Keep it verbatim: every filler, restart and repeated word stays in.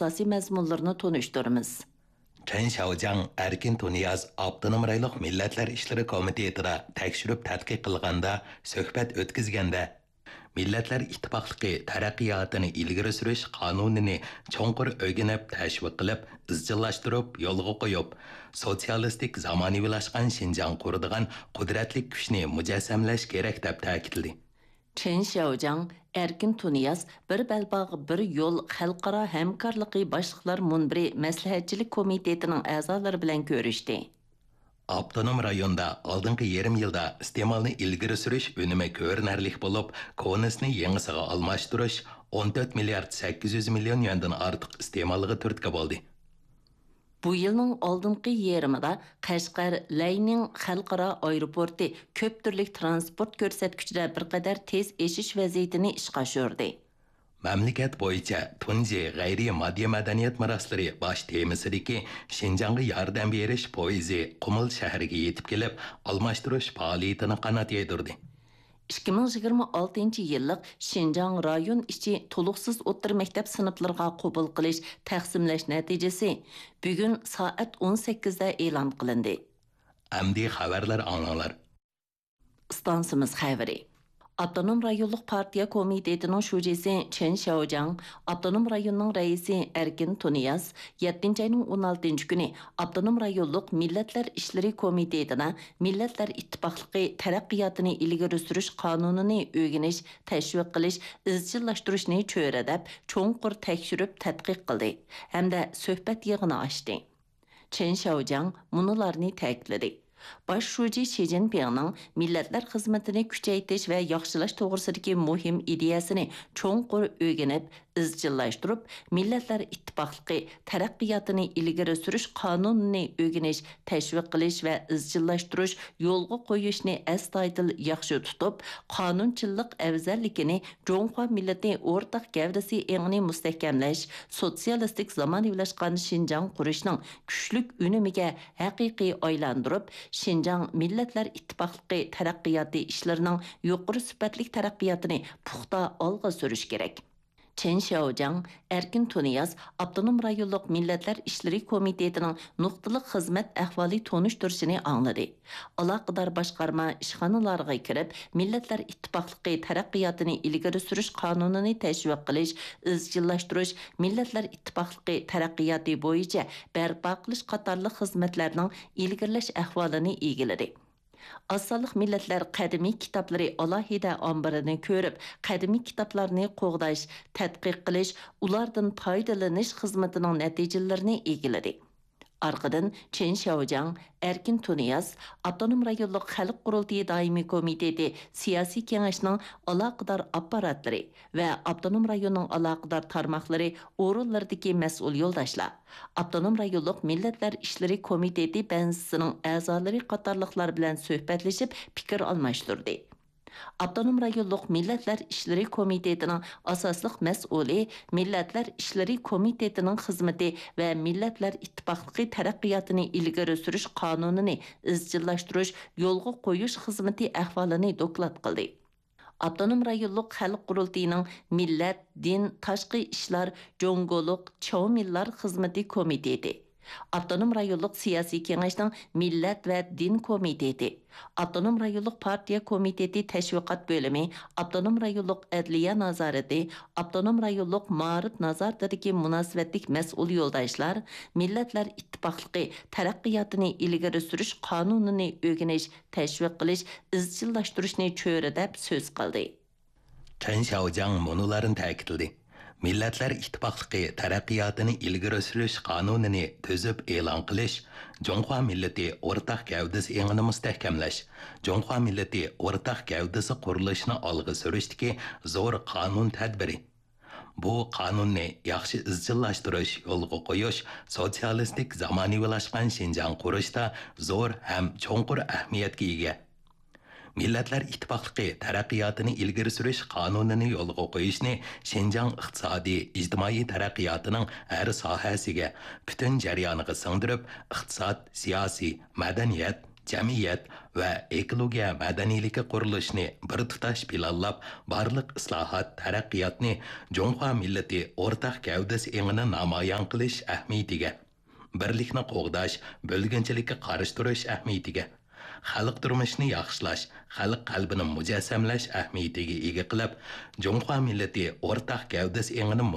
ئاساسىي مەزمۇنلىرىنى تونۇشتۇرىمىز. چېن شياۋجياڭ ئەركىن تۇنىياز ئاپتونوم رايونلۇق مىللەتلەر ئىشلىرى كومىتېتىدا تەكشۈرۈپ تەتقىق قىلغاندا، سۆھبەت ئۆتكۈزگەندە، مىللەتلەر ئىتتىپاقلىقى تەرەققىياتىنى ئىلگىرى سۈرۈش قانۇنىنى چوڭقۇر ئۆگىنىپ، تەشۋىق قىلىپ، ئىزچىللاشتۇرۇپ، يولغا قويۇپ، سوتسىيالىستىك زامانىۋىلاشقان شىنجاڭ قۇرىدىغان قۇدرەتلىك كۈچنى مۇجەسسەملەش كېرەك، دەپ تەكىتلىدى. چېن شياۋجياڭ ئەركىن تۇنىياز بىر بەلباغ، بىر يول خەلقئارا ھەمكارلىقى باشلىقلار مۇنبىرى مەسلىھەتچىلىك كومىتېتىنىڭ ئەزالىرى بىلەن كۆرۈشتى. ئاپتونوم رايوندا ئالدىنقى يېرىم يىلدا ئىستېمالنى ئىلگىرى سۈرۈش ئۈنۈمى كۆرۈنەرلىك بولۇپ، كونىسىنى يېڭىسىغا ئالماشتۇرۇش ئون تۆت مىليارد سەككىز يۈز مىليون يۈەندىن ئارتۇق ئىستېمالغا تۈرتكە بولدى. بۇ يىلنىڭ ئالدىنقى يېرىمىدا قەشقەر لەينىڭ خەلقئارا ئايروپورتى كۆپ تۈرلۈك تىرانسپورت كۆرسەتكۈچىدە بىر قەدەر تېز ئېشىش ۋەزىيىتىنى ئىشقا ئاشۇردى. مەملىكەت بويىچە تۇنجى غەيرىي ماددىي مەدەنىيەت مىراسلىرى باش تېمىسىدىكى شىنجاڭغا ياردەم بېرىش پويىزى قۇمۇل شەھىرىگە يېتىپ كېلىپ، ئالماشتۇرۇش پائالىيىتىنى قانات يايدۇردى. ئىككى مىڭ يىگىرمە ئالتىنچى يىللىق شىنجاڭ رايون ئىچى تولۇقسىز ئوتتۇرا مەكتەپ سىنىپلىرىغا قوبۇل قىلىش، تەقسىملەش نەتىجىسى بۈگۈن سائەت ئون سەككىزدە ئېلان قىلىندى. ئەمدى خەۋەرلەر ئاڭلاڭلار. ئىستانسىمىز خەۋىرى. ئاپتونوم رايونلۇق پارتىيە كومىتېتىنىڭ شۇجىسى چېن شياۋجياڭ، ئاپتونوم رايوننىڭ رەئىسى ئەركىن تۇنىياز يەتتىنچى ئاينىڭ ئون ئالتىنچى كۈنى ئاپتونوم رايونلۇق مىللەتلەر ئىشلىرى كومىتېتىدا مىللەتلەر ئىتتىپاقلىقى تەرەققىياتىنى ئىلگىرى سۈرۈش قانۇنىنى ئۆگىنىش، تەشۋىق قىلىش، ئىزچىللاشتۇرۇشنى چۆرىدەپ، چوڭقۇر تەكشۈرۈپ تەتقىق قىلدى ھەمدە سۆھبەت يىغىنى ئاچتى. چېن شياۋجياڭ مۇنۇلارنى تەكىتلىدى: باش شۇجى شى جىنپىڭنىڭ مىللەتلەر خىزمىتىنى كۈچەيتىش ۋە ياخشىلاش توغرىسىدىكى مۇھىم ئىدىيەسىنى چوڭقۇر ئۆگىنىپ، ئىزچىللاشتۇرۇپ، مىللەتلەر ئىتتىپاقلىقى تەرەققىياتىنى ئىلگىرى سۈرۈش قانۇنىنى ئۆگىنىش، تەشۋىق قىلىش ۋە ئىزچىللاشتۇرۇش، يولغا قويۇشنى ئەستايىدىل ياخشى تۇتۇپ، قانۇنچىللىق ئەۋزەللىكىنى جۇڭخۇا مىللىتى ئورتاق گەۋدىسى ئېڭىنى مۇستەھكەملەش، سوتسىيالىستىك زامانىۋىلاشقان شىنجاڭ قۇرۇشنىڭ كۈچلۈك ئۈنۈمىگە ھەقىقىي ئايلاندۇرۇپ، شىنجاڭ مىللەتلەر ئىتتىپاقلىقى تەرەققىياتى ئىشلىرىنىڭ يۇقىرى سۈپەتلىك تەرەققىياتىنى پۇختا ئالغا سۈرۈش كېرەك. چېن شياۋجياڭ ئەركىن تۇنىياز ئاپتونوم رايونلۇق مىللەتلەر ئىشلىرى كومىتېتىنىڭ نۇقتىلىق خىزمەت ئەھۋالى تونۇشتۇرۇشىنى ئاڭلىدى. ئالاقىدار باشقارما ئىشخانىلارغا كىرىپ، مىللەتلەر ئىتتىپاقلىقى تەرەققىياتىنى ئىلگىرى سۈرۈش قانۇنىنى تەشۋىق قىلىش، ئىزچىللاشتۇرۇش، مىللەتلەر ئىتتىپاقلىقى تەرەققىياتى بويىچە بەرپا قىلىش قاتارلىق خىزمەتلەرنىڭ ئىلگىرىلەش ئەھۋالىنى ئىگىلىدى. ئاز سانلىق مىللەتلەر قەدىمىي كىتابلىرى ئالاھىدە ئامبىرىنى كۆرۈپ، قەدىمىي كىتابلارنى قوغداش، تەتقىق قىلىش، ئۇلاردىن پايدىلىنىش خىزمىتىنىڭ نەتىجىلىرىنى ئىگىلىدى. ئارقىدىن چېن شياۋجياڭ، ئەركىن تۇنىياز ئاپتونوم رايونلۇق خەلق قۇرۇلتىيى دائىمىي كومىتېتى سىياسىي كېڭەشنىڭ ئالاقىدار ئاپپاراتلىرى ۋە ئاپتونوم رايوننىڭ ئالاقىدار تارماقلىرى ئورۇنلىرىدىكى مەسئۇل يولداشلار، ئاپتونوم رايونلۇق مىللەتلەر ئىشلىرى كومىتېتى بەنزىسىنىڭ ئەزالىرى قاتارلىقلار بىلەن سۆھبەتلىشىپ پىكىر ئالماشتۇردى. ئاپتونوم رايونلۇق مىللەتلەر ئىشلىرى كومىتېتىنىڭ ئاساسلىق مەسئۇلى، مىللەتلەر ئىشلىرى كومىتېتىنىڭ خىزمىتى ۋە مىللەتلەر ئىتتىپاقلىقى تەرەققىياتىنى ئىلگىرى سۈرۈش قانۇنىنى ئىزچىللاشتۇرۇش، يولغا قويۇش خىزمىتى ئەھۋالىنى دوكلات قىلدى. ئاپتونوم رايونلۇق خەلق قۇرۇلتىيىنىڭ مىللەت، دىن، تاشقى ئىشلار، جۇڭگولۇق، چاۋمىنلار خىزمىتى كومىتېتى، ئاپتونوم رايونلۇق سىياسىي كېڭەشنىڭ مىللەت ۋە دىن كومىتېتى، ئاپتونوم رايونلۇق پارتىيە كومىتېتى تەشۋىقات بۆلۈمى، ئاپتونوم رايونلۇق ئەدلىيە نازارىتى، ئاپتونوم رايونلۇق مائارىپ نازارىتىدىكى مۇناسىۋەتلىك مەسئۇل يولداشلار مىللەتلەر ئىتتىپاقلىقى تەرەققىياتىنى ئىلگىرى سۈرۈش قانۇنىنى ئۆگىنىش، تەشۋىق قىلىش، ئىزچىللاشتۇرۇشنى چۆرىدەپ سۆز قىلدى. چېن شياۋجياڭ مۇنۇلارنى تەكىتلىدى: مىللەتلەر ئىتتىپاقلىقى تەرەققىياتىنى ئىلگىرى سۈرۈش قانۇنىنى تۈزۈپ ئېلان قىلىش جۇڭخۇا مىللىتى ئورتاق گەۋدىسى ئېڭىنى مۇستەھكەملەش، جۇڭخۇا مىللىتى ئورتاق گەۋدىسى قۇرۇلۇشىنى ئالغا سۈرۈشتىكى زور قانۇن تەدبىرى. بۇ قانۇننى ياخشى ئىزچىللاشتۇرۇش، يولغا قويۇش سوتسىيالىستىك زامانىۋىلاشقان شىنجاڭ قۇرۇشتا زور ھەم چوڭقۇر ئەھمىيەتكە ئىگە. مىللەتلەر ئىتتىپاقلىقى تەرەققىياتىنى ئىلگىرى سۈرۈش قانۇنىنى يولغا قويۇشنى شىنجاڭ ئىقتىسادىي، ئىجتىمائىي تەرەققىياتىنىڭ ھەر ساھەسىگە، پۈتۈن جەريانىغا سىڭدۈرۈپ، ئىقتىساد، سىياسىي، مەدەنىيەت، جەمئىيەت ۋە ئېكولوگىيە مەدەنىيلىكى قۇرۇلۇشىنى بىر تۇتاش پىلانلاپ، بارلىق ئىسلاھات، تەرەققىياتنى جۇڭخۇا مىللىتى ئورتاق گەۋدىسى ئېڭىنى نامايان قىلىش ئەھمىيىتىگە، بىرلىكنى قوغداش، بۆلگۈنچىلىككە قارشى تۇرۇش ئەھمىيىتىگە، خەلق تۇرمۇشىنى ياخشىلاش، خەلق قەلبىنى مۇجەسسەملەش ئەھمىيىتىگە ئىگە قىلىپ، جۇڭخۇا مىللىتى ئورتاق گەۋدىسى ئېڭىنى